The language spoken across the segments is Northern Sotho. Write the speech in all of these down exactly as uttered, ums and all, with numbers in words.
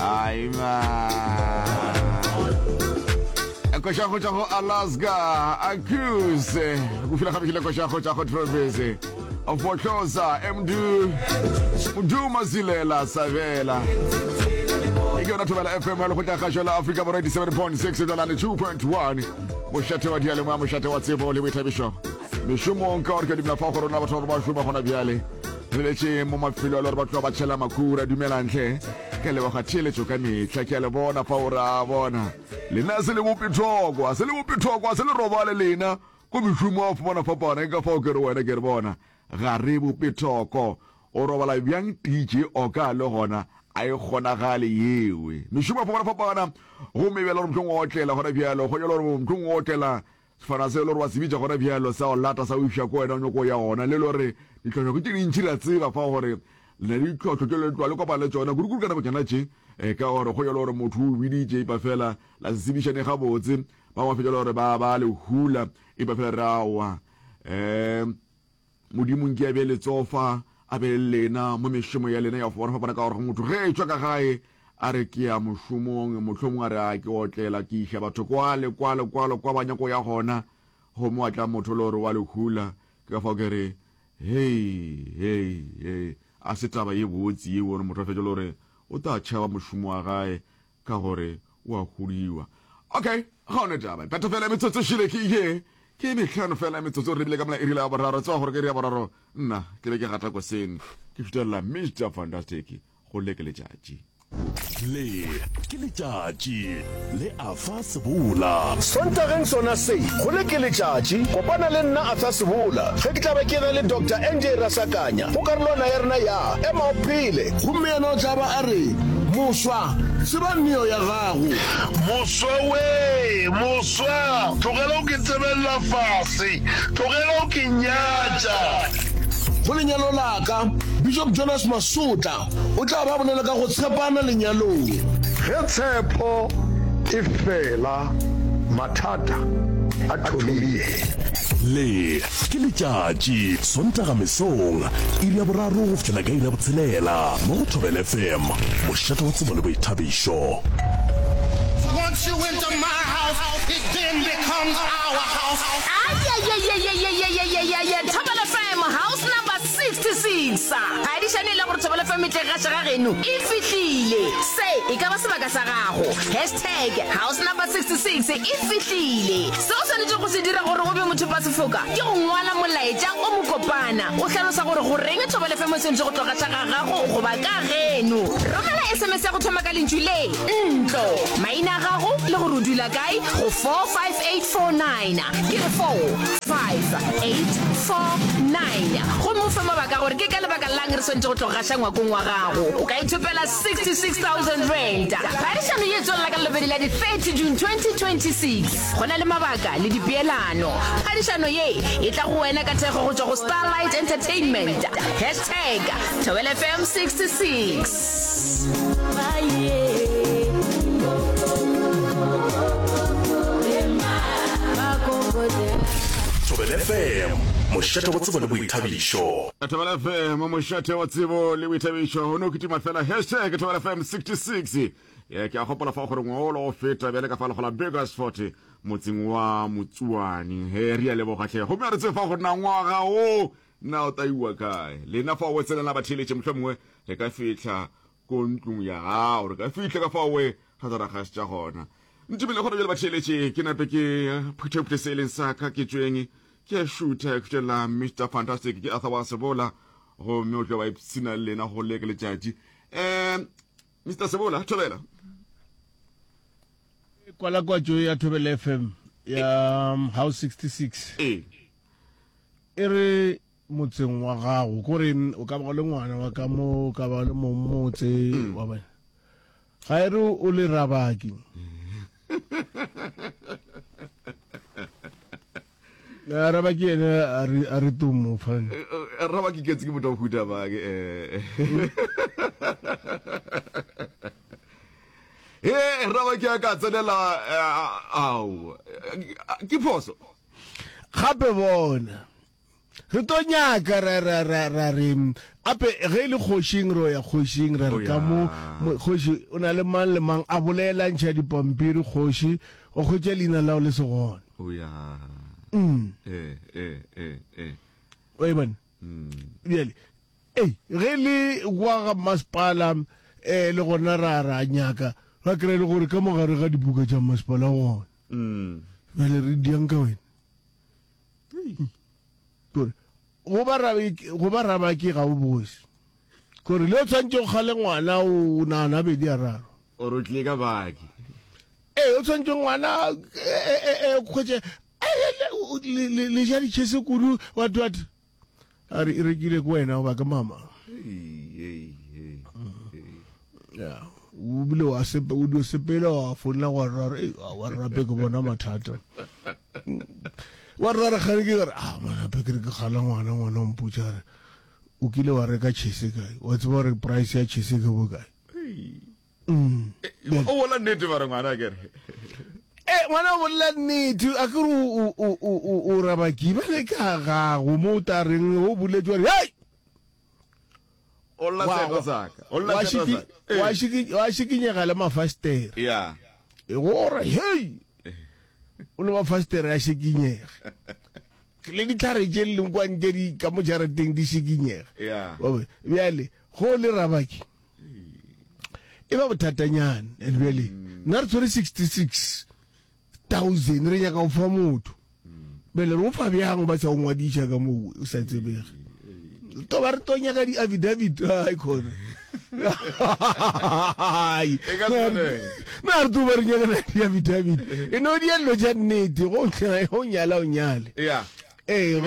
Ai man. Koša go tšwa go Alaska Accuse go fila gabekile koša go tšwa go Travis Fohloza Mdu Mdu Masilela Sabela e ke yona Thobela F M ya lekgotla kgašo la Afrika Borwa eighty-seven point six dolane two point one mošate wa diyalemoya, mošate wa tsebo le boithabišo mešomong ka gore ke dumela fa go rona batho ba ba šoma gona bjale re letše mo mafelo a le gore ba tloga ba tšhela makhura. Dumelantle, ke leboga theeletšo ka mehla, ke a le bona fa o ra bona lena se le bopethoko, a se le bopethoko, a se le robale lena ko mešomo a fapana fapana. Ke ka fao ke re wena ke re bona ga re bopethoko, o robala bjang D J oka le gona a e kgonagale yewe mešomo a fapana fapana. Gomme bjale gore mohlong o otlela gona bjalo go jalo gore mohlong o otlela sefana se le gore wa se bitša gona bjalo sa o lata sa o iša ko wena o nyako ya gona le le gore ditlhohlo ke tše dintšhi. Re a tseba fa gore le na le ditlhohlo tše le tloga le kopana le tšona kudu-kudu ka nako tšona tše um ka gore go jalo gore motho o biditše ipa fela la se tsebišane gabotse, ba ba fetša le gore ba ba le hula ipa fela re aowa. um Modimo nke a be letsofa a be le lena mo mešomo ya lena ya go fapana-fapana, ka gore motho ge e tšwa ka gae a re ke ya mošomong, mohlomongwe a re a ke otlela ke iša batho kwale kwale kwale kwa ba nyako ya gona, gomme wa tla motho le gore wa le hula. Ke ka fao ke re hei hei hei, a se taba ye botse yeo gore motho a fetše le gore o tla tšhaba mošomo wa gae ka gore o a huliwa. Okay, ga one taba phetho fela metsotso šile ke ye ke mehlano fela metsotso re bile ka mola iri la boraro. Tseba gore ke iri ya boraro nna ke be ke gata koseng ke fitelela Mister Fantastic go le ke letšatši. Le ke letšatši le Arthur Sebola. Sontageng sona se, go le ke letšatši, kopana le nna Arthur Sebola ge ke tla be ke na le Doctor N J Rasakanya go karolwana ya rena ya Ema o Phele. Gomme yena o tla ba a re, Moswa, tseba neo ya gago. Moswa wee, moswa, tlogela o ke tsebelela fase, tlogela o ke nyatša. Go lenyalo la ka, Bishop Jonas Masotla o tla ba bolela ka go tshepana lenyalong. Ge tshepo e fela, mathata a thomile. Le ke letšatši, Sontaga mesong, iri ya boraro go fihlela ka iri ya botshelela mo go Thobela F M, mošate wa tsebo le boithabišo. Once you enter my house, it then becomes our house. Ayayayayayayayayaya, Thobela F M house number sixty-six, phadišano e le gore Thobela F M e tle gaša ga geno e fihlile. Se e ka ba sebaka sa gago. Hashtag house number sixty-six e fihlile. Se o swanetše go se dira gore o be motho pa sefoka ke go ngwala molaetša o mokopana o hlalosa gore goreng Thobela F M e swanetše go tlogaša ga gago goba ka geno. Romela S M S ya go thoma ka lentšu le ntlo, maina a gago le gore o dula kae go four five eight four nine, ke re four five eight four nine, gomme o fe mabaka gore ke ka lebaka lang re swanetše go tlogaša ngwakong wa gago. O ka ithopela sixty-six thousand rand. Phadišano ye tswelela ka lebedi la di thirty June twenty twenty-six. Go na le mabaka le dipeelano. Phadišano ye e tla go wena ka thekgo go tšwa go Starlight Entertainment. Hashtag Thobela F M sixty-six. Thobela F M, mošate wa tsebo le boithabišo. Thobela F M, mošate wa tsebo le boithabišo. O no kitima fela hashtag Thobela F M sixty-six. Ye ke a gopola fa gore ngwaolo o feta bjale ka fa legola Bakersford motseng wa Motsuane. He re a leboga tlhe, gomme a re tsebe fa gore na ngwaga o na o taiwa kae lena fa o tsenela batheeletše. Mohlomongwe re ka fihla ko ntlong ya gago, re ka fihla ka fa oe ra tla ra gašetša gona. Ntumele gore bjale batheeletše ke nape ke phuthephuthe se e leng sa ka ke tšweng ke a šutha ke šutela Mister Fantastic ke Arthur wa Sebola, gomme o tlo ba ipshina le lena go leke letšatši. um Mister Sebola, thobela. Kwalakwatšo ya Thobela F M ya um, house sixty-six ee e re motseng wa gago, kore o ka ba o le ngwana wa ka mo, o ka ba o le mong motse wa bona, ga e re o le rabaki. A rabaki ene a re a re tumo fane. Raba ke ketse ke motho wa huta ba ke eh he raba ke a ka tsenela ao ke phoso. Gape bona Re tlo nyaka ra ra ra ra re ape ge e le kgošing ro ya kgošing ra re ka mo kgoši o na le mang le mang a bolela ntšha dipampiri kgoši o hwetša leina lao le se gona. O ya. Mm. Eh eh eh eh. O e bona? Mm. Bjale ei ge le kwa ga masepala eh le gona ra ra nyaka ra kry le gore ka mogare ga dibuka tša masepala gona. Mm. Bjale re diang ka wena. Kore go ba go ba rabaki ga o bose. Kore le o tshwanetse go kgale ngwana o nagana bedi a raro. O re o tlile ka baki. Ee, o tshwanetse ngwana e kgwetše le ja ditšhese kudu what what. A re e rekile ke wena goba ke mama. Ya, o bile wa sepe o dio sepela wa founela wa rara e wa rape ke bona mathata. Wa rara gane ke gore ah manape ke re ke gala ngwana ngwana o mpotša re o kile wa reka chese kae wa tseba gore price ya chese ke bokae. Mm. O bolela nnete ba re ngwana ke re. Eh ngwana o bolela nnete a ke re o o o o rabaki ba le ka gago mo o ta reng o boletse wa re hey O lla seto sa ka. O lla seto sa ka. Wa shiki wa shikinyega le mafastere. Yeah. E gore hey o le mafastere a shikinyega. Le ditlhare tše leng kwa ntle di ka mo jarateng di shikinyega. Yeah. Bjale go le rabaki e ba bothatanyana and bjale nna re tshwere sixty-six thousand re nyaka go fa motho. Bjale re o fa bjang ba sa o ngwadiša ka mo o sa tsebege. To ba re tlo nyaka di-affidavit ai khona. Ai. Na re tlo ba re nyaka di-affidavit. E no di dilo tša nnete go o nyala o nyale. Yeah. Eh e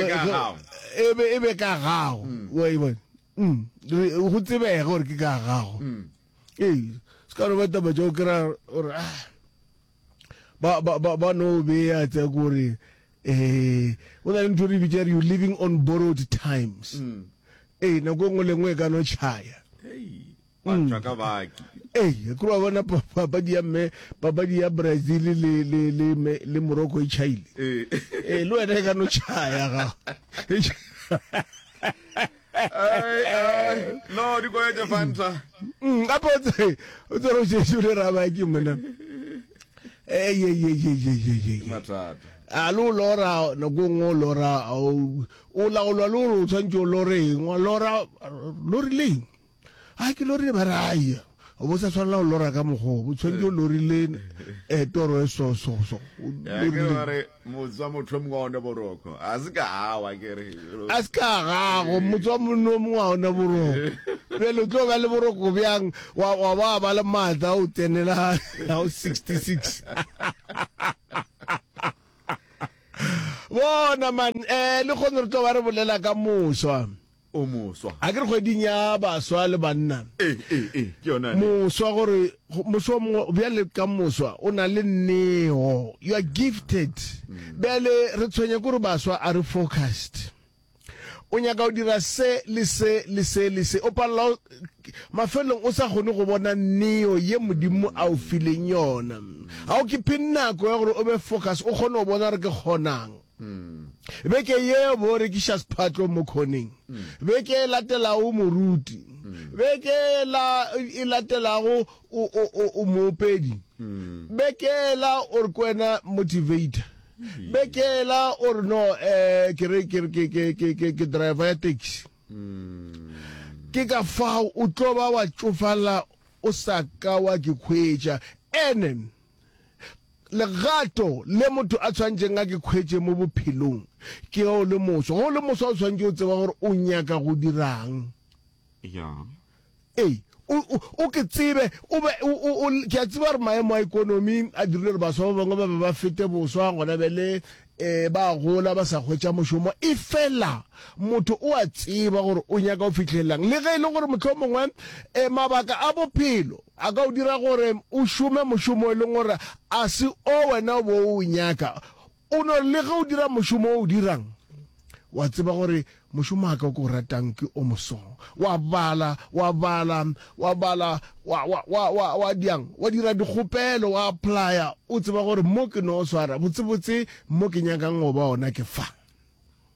be e be ka gago. Wa e bona. Mm. Go tsebege gore ke ka gago. Ee, se ka no ba taba tša go kry-a gore ah ba ba ba ba no beya tsa gore eh o na le ntho re bitša re you living on borrowed times. Ee, nako e nngwe le nngwe e ka no tšhaya. Wa tšwa ka baki. Ee, ke wa bona papadi ya mme papadi ya Brazil le le le le Morocco e tšhaile. Ee, le wena e ka no tšhaya ga. Ai ai no di koya tša Fanta. Mm, gape o tse o tse re o šetše o le rabaki mona. Ee ye ye ye ye ye ye. Mathata. A le o lora nako e nngwe o lora o laolwa le gore o tshwanetse o lore eng wa lora lorileng a ke lorile ba re aia o bo sa tshwanela go lora ka mokgwa o tshwanetse o lorile um toro e so so so Ya ke ba re motse wa motho mongwe wa ona boroko. A se ka awa ke re. A se ka gago motse wa monna o mongwe wa ona boroko. Bjale o tlo ba le boroko bjang wa wa ba ba le maatla o tsenela o sixty-six. Bona man eh le kgone re tlo ba re bolela ka moswa. O moswa. A ke re kgweding ya baswa le banna. Eh eh eh ke yona. Moswa gore moswa mongwe bjale ka moswa o na le neo. You are gifted. Bjale re tshwenya gore baswa a re focused. O nyaka go dira se le se le se le se o palela mafelong o sa kgone go bona neo ye Modimo a o fileng yona. Ga o ke phe nako ya gore o be focus o kgone go bona gore ke kgonang. Beke ye bo rekiša sephatlo mo khoneng. Beke e latelago moruti. Beke la e latelago o o o moopedi. Beke la o re kwena motivator. Beke la o re no eh ke re ke ke ke ke ke ke driver ya taxi. Ke ka fao o tlo ba wa tšofala o sa ka wa ke khwetša. Ene legato le motho a tshwanetseng a ke khwetše mo bophelong ke o le moswa. Go le moswa o tshwanetse o tseba gore o nyaka go dirang. Ya. Ee, o o ke tsebe o be o ke a tseba gore maemo a ekonomi a dirile gore baswa ba bangwe ba be ba fete boswa gona bjale eh ba gola ba sa hwetša mošomo. E fela motho o a tseba gore o nyaka go fihlelelang le ge e le gore mohlomongwe eh mabaka a bophelo a ka o dira gore o šome mošomo e leng gore a se o wena o bo o nyaka. O no le ge o dira mošomo o o dirang wa tseba gore mošomo wa ka o ke o ratang ke o moso. Wa bala wa bala wa bala wa wa wa wa wa diang wa dira dikgopelo wa applya o tseba gore mo ke no swara botsebotse mo ke nyakang go ba ona ke fa.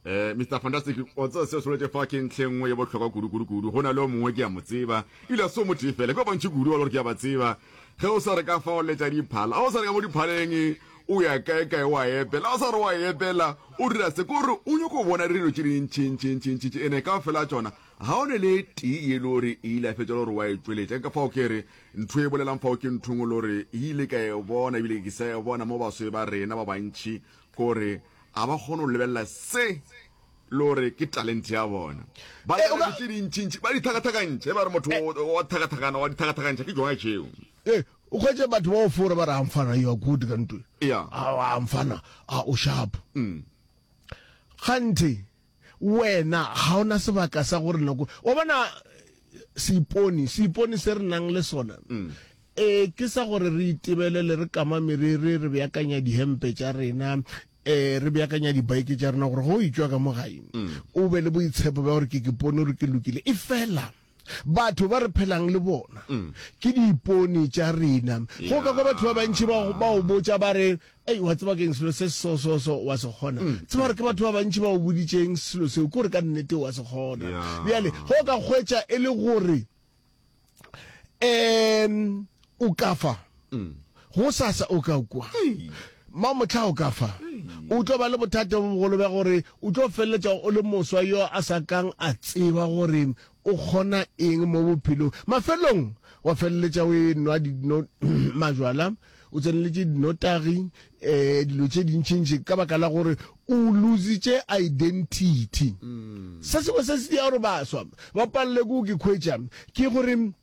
Eh, Mister Fantastic, o tseba seo se boletše fa ke ntlha e nngwe ye bohlokwa kudu kudu kudu. Go na le o mongwe ke a mo tseba, ebile a se o motee fela, ke ba bantši kudu ba le gore ke a ba tseba. Ge o sa re ka fa o letša diphala, ga o sa re ka mo diphaleng o ya kae kae wa epela, ga o sa re wa epela o dira se, ke gore o nyoko bona dilo tše dintši ntši ntši ntši ntši, ene kaofela tšona ga o ne le e tee ye le gore e ile ya fetša le gore wa e tšweletša. Ke ka fao ke re ntho e bolelang fao ke ntho engwe le gore e ile ka e bona ebile ke sa e bona mo baswe ba rena ba bantši, ke gore A ba kgone go lebelela se le gore ke talente ya bona. Ba Eh, o dira ka- tše dintšintši, ba di tlhakatlhakantšha. E ba re motho o- wa tlhakatlhakana, wa di tlhakatlhakantšha, ke tšona tšeo. Eh, o hwetše batho ba o fora ba re a mfana you are good ka ntwe. Yeah. A a mfana a o sharp. Mm. Kganthe wena ga ona sebaka sa gore nako wa bona seipone, seipone se re nang le sona. Mm. Eh ke sa gore re itebelele re kama meriri re beakanya dihempe tša rena eh re beakanya dibaeke tša rena gore go o etšwa ka mo gae o be le boitshepo bja gore ke ke pone gore ke lokile e fela batho ba re phelang le bona ke diipone tša rena go ka kwa batho ba bantši ba ba o botša ba re ei wa tseba keng selo se so so so wa se kgona tseba gore ke batho ba bantši ba o boditšeng selo seo ke gore ka nnete wa se kgona bjale go ka hwetša e le gore um o ka fa go sasa o ka kwa mamohla o ka fa o tlo ba le bothata bo bogolo bja gore o tlo feleletša o le moswa yo a sa kang a tseba gore o kgona eng mo bophelong mafelong wa feleletša o e nwa dino majwala o tseneletše dinotagi um dilo tše dintšintši ka baka la gore o lositše identity se sengwe se se dia gore baswa ba palele ke go ke khwetša ke gore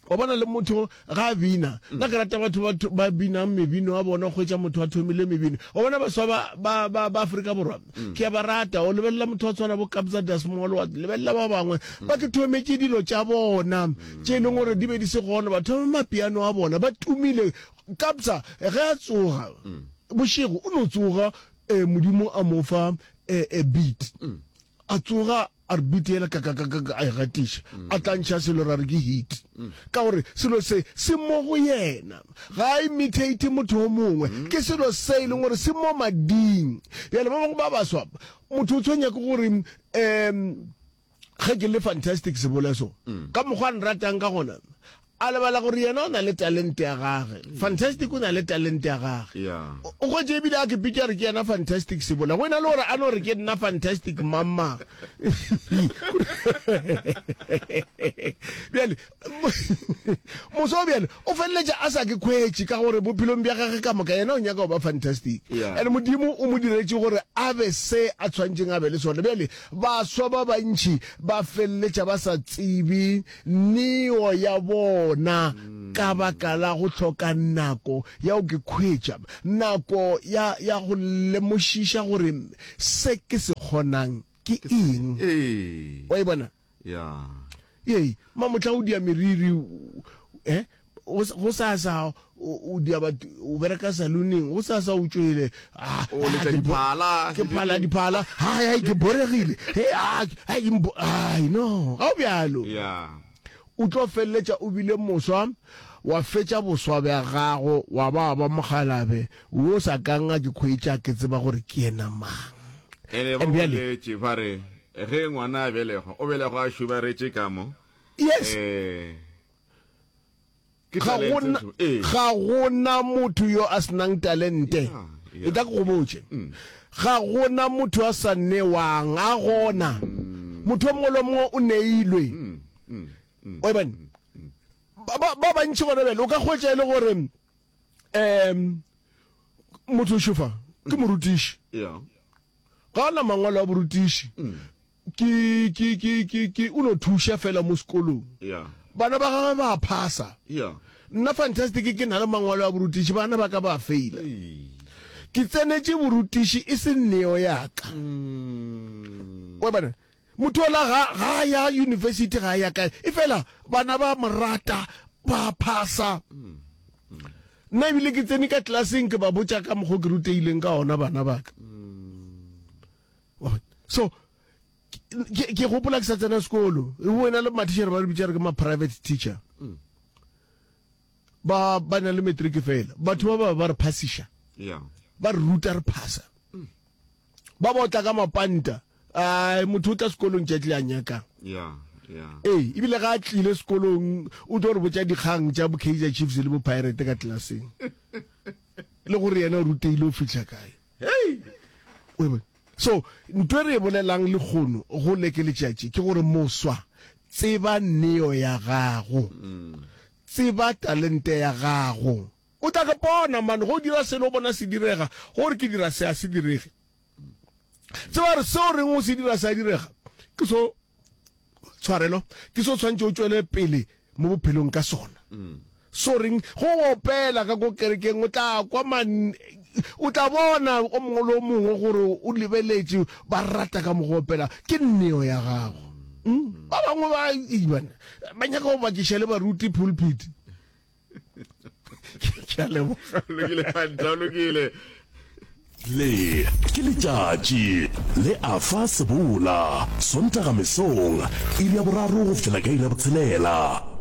wa bona le motho ga a bina nna ke rata batho ba ba binang mebino wa bona hwetša motho a thomile mebino wa bona baswa ba ba ba ba Afrika Borwa ke a ba rata o lebelela motho wa tshwana bo Kabza De Small wa lebelela ba bangwe ba ke thometše dilo tša bona tše e leng gore di be di se gona ba thoma mapiano a bona ba tumile Kabza ge a tsoga bošego o no tsoga eh, Modimo a mo fa eh, eh, beat a tsoga a re beat yela kakakakaka a e gatiša a tla ntšha selo ra re ke hit ka gore selo se se mo go yena ga a imitate motho o mongwe ke selo se e leng gore se mo mading bjale ba bangwe ba baswa motho o tshwenya ke gore um ge ke le fantastic seboleso ka mokgwa a nratang ka gona a lebala gore yena o na le talente ya gage fantastic o na le talente ya gage Yeah. o o hwetše ebile a ke pitša re ke yena fantastic sebola go ena le gore a no re ke nna fantastic mama bjale moso bjale o feleletša a sa ke khwetše ka gore bophelong bja gage ka moka yena o nyaka go ba fantastic Yeah. and modimo o mo diretše gore a be se a tshwanetšeng a be le sona bjale baswa ba bantši ba feleletša ba sa tsebe neo ya bona ka baka la go hloka nako ya go ke khwetša nako ya ya go lemošiša gore se ke se kgonang ke eng Ee. wa e bona Ya. ee mamotla o dia meriri eh go go sasa o o dia batho o bereka saloneng go sasa o tšwele ah, O letša ah, ke bo- diphala. ke phala diphala hai hai ke boregile he ah ai ke mbo- ai no ga o bjalo Ya. o tlo feleletša o bile moswa wa fetša boswa bja gago wa ba ba mogalabe wo sa kang a ke khwetša ke tseba gore ke yena mang Ene ba And bjale boletše ba re ge ngwana a belegwa o belegwa a šubaretše ka mo. yes Eh. Ke ga talente gona ntho. Ee. ga gona motho yo a senang talente Yeah, yeah. e tla ke go botše ga gona motho a sa newang a gona motho o mongwe le o mongwe o neilwe wa e bone ba ba- ba bantši gona bjale o ka hwetša e le gore um motho o šofa ke morutiši Yeah. ga ona mangwalo a borutiši ke ke ke ke ke o no thuša fela mo sekolong Yeah. bana ba gagwe ba phasa Yeah. nna fantastic ke na le mangwalo a borutiši bana ba ka ba faila ke tsenetše borutiši e se neo ya ka wa bona motho ola ga ga a ya university ga a ya kae e fela bana ba mo rata ba phasa nna ebile ke tsene ka tlelaseng ke ba botša ka mokgwa ke ruteileng ka ona bana ba ka Wa bona? so ke ke gopola ke sa tsena sekolo wena le mathišere ba re bitša re ke ma-private teacher ba ba na le matric fela batho ba ba ba re phasiša Yeah. ba re ruta re phasa ba ba otla ka mapanta Ai, motho o tla sekolong tšatši le a nyakang. Yeah, yeah. Ee, ebile ga a tlile sekolong o tlo re botša dikgang tša bo Kaizer Chiefs le bo Pirate ka tlelaseng. Le gore yena o ruteile o fihla kae. Hei! O e bone? So, ntho e re e bolelang lekgono go le ke letšatši ke gore moswa, tseba neo ya gago. Tseba talente ya gago. O tla ke bona man, ge o dira selo o bona se direga, ge o re ke dira se a se direge. Tseba gore seo o reng o se dira se a direga, ke so tshwarelo, ke so tshwanetse o tšwele pele mo bophelong ka sona. So reng ge o opela ka ko kerekeng o tla kwa man, o tla bona o mongwe le o mongwe gore o lebeletše ba rata ka mo go opela, ke neo ya gago. Mm. Ba bangwe ba bana ba nyaka go bakiša le baruti pulpit. Ke a leboga. Lokile, Fanta, lokile. Le ke letšatši le Arthur Sebola, Sontaga mesong, iri ya boraro go fihlela ka iri ya botshelela.